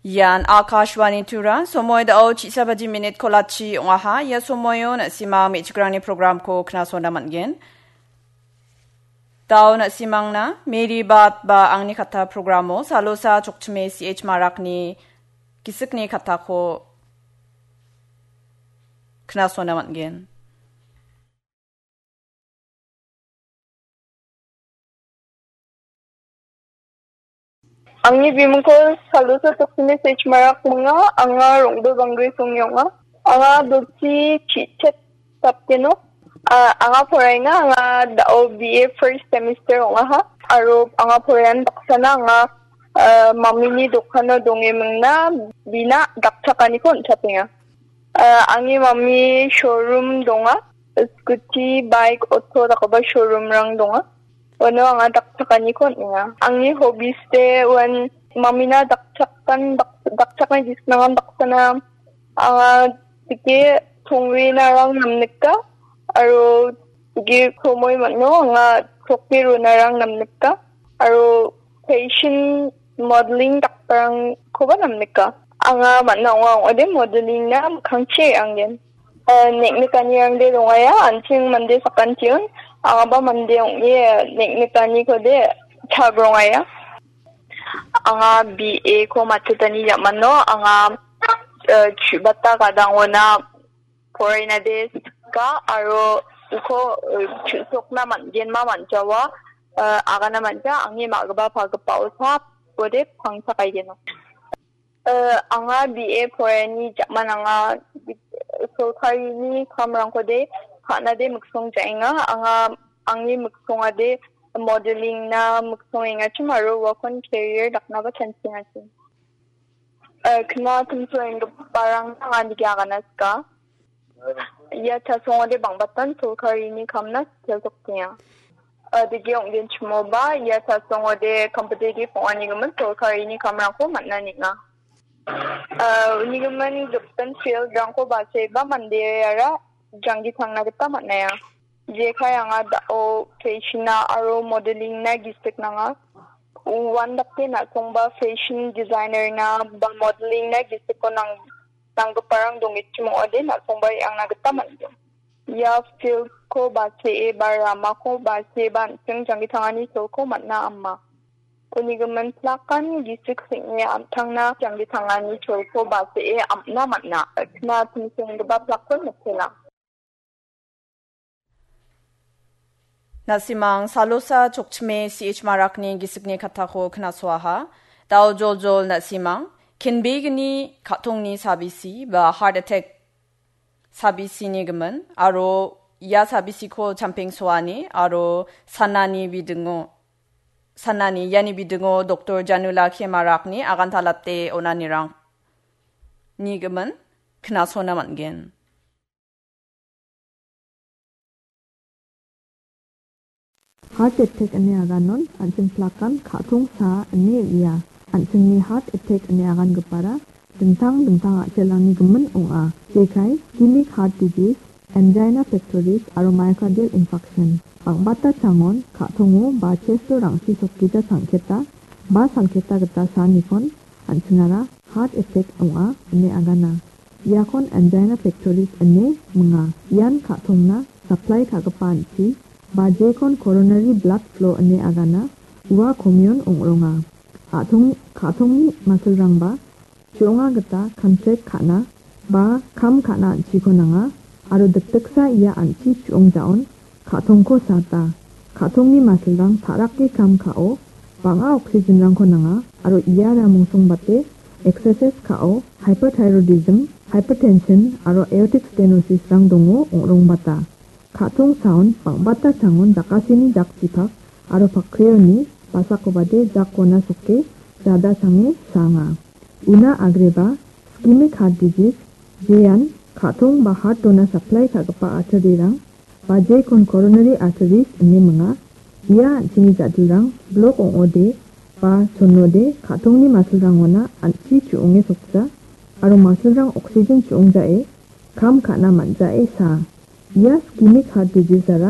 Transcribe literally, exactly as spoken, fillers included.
Ian Akashvani Tura, somoi dao chisa baji minit kolachi ong·aha. Ia somoio na·simang me·chikrangni programko knasona man·gen. Dao na·simangna Mary Bat ba Angni Katta programo Salosa Chokchime C H Marakni gisikni kattako knasona man·gen. Angni bimingko Salosa Chokchime C H Marak ong·a, anga Rongdo Banggre Songni ong·a. Anga Dolchi Chichet Sapkeno. Ah, anga poraenga, anga dao B A first semester ong·aha. Aro anga poraen baksana anga, ah, mamini dokano dongemingna bina dakchakaniko on·chatenga. Ah, angni mami showroom donga. Scooty, bike, auto dakgipa showroomrang donga. Uano anga dakchakaniko on·enga. Angni hobbies-de uan mamina dakchakan, dak-, dakchakna gisnangan baksana anga dike tongrinarang namnika, aro dike kromoi man·o anga chokki ronarang namnika, aro fashion modeling dakgiparangkoba namnika. Anga man·a ong·a ong·ode modeling-na mikkangchi re·angen. Eh, neknikanirangde rongaia, an·ching mande sakantion, angaba mande ong·e neknikanikode chagrongaia. Anga B A ko matchotani jamano, anga, eh, chu·bata gadangona porainade sika, aro uko, eh, chu·sokna man·genma man·jawa, eh, agana man·ja, angni ma·gipa pagipao sa, uode pangsa kaigeno. Eh, anga B A poraiani jaman anga sorkarini kamrangkode ka·nade miksong ja·enga. Anga angni miksongade modeling-na miksong engachim aro uakon career daknaba chanchiengachim. Eh, kna timso enggiparangna anga nige agana sika. Ia chasongode bang·batan sorkarini kamna sitelsoktenga. Ah, digi ong·genchimoba, ia chasongode competitive ong·anigimin sorkarini kamrangko man·a neng·a. Ah, unigimin gipin field-rangko bacheba mandeara janggi tangna gita man·aia. Jekai anga dao fashion-na aro modeling-na gisik nanga. Uan dake na·songba fashion designer-na ba modeling-na gisiko nang-, nanggiparang dongechim ong·ode na·songba re·angna gita man·gen. Ia field-ko bachee ba ramako bachee ba an·ching janggi tangani cholko man·a ama. Unigimin plakan gisik seng·e an·tangna janggi tangani cholko bachee am·na man·a. Kna timsenggipa plakon mitela. Na·simang Salosa Chokchime C H Marakni gisikni kattako knasoaha. Dao joljol na·simang, kenbegni ka·tongni sabisi ba heart attack sabisini gimin, aro ia sabisiko champengsoani aro sanani bidingo, sanani iani bidingo Doktor Janula K Marakni agantalate onanirang ni gimin knasona man·gen. Heart attack ine aganon an·ching plakan ka·tongsa ine uia. An·chingni heart attack ine agangipara dingtang dingtang a·selrangni gimin ong·a. Jekai ischemic heart disease, angina pectoris aro myocardial infarction. Bang·bata changon ka·tongo ba chesto rangsi sokgija sangketa ba salketa gita saanikon an·chingara heart attack ong·a ine agana. Iakon angina pectoris ine minga. Ian ka·tongna supply ka·gipa an·chi, ba jekon coronary blood flow ine agana, ua komion ong·ronga. A·tong-, ka·tongni masilrangba chu·onga gita contract ka·na ba kam ka·na an·chiko nanga, aro dikdiksa ia an·chi chu·ong ja·on ka·tongko sata. Ka·tongni masilrang ta·rake kam ka·o, bang·a oxygenrangko nanga, aro iara mungsongbate exercise ka·o, hyperthyroidism, hypertension, aro aortic stenosisrang dongo ong·rongbata. Ka·tong saon bang·bata changon jakasini jakchipak aro pakreoni basakobade jakona soke jada sange sanga. Una agreba ischemic heart disease, jean ka·tong ba heart-ona supply ka·gipa artery-rang, ba jekon coronary arteries ine minga. Ia an·chingni ja·dilrang blok ong·ode ba chonode ka·tongni masilrangona an·chi chu·onge sokja aro masilrang oxygen chu·ongjae kam ka·na man·jae saa. Ia ischemic heart disease-ara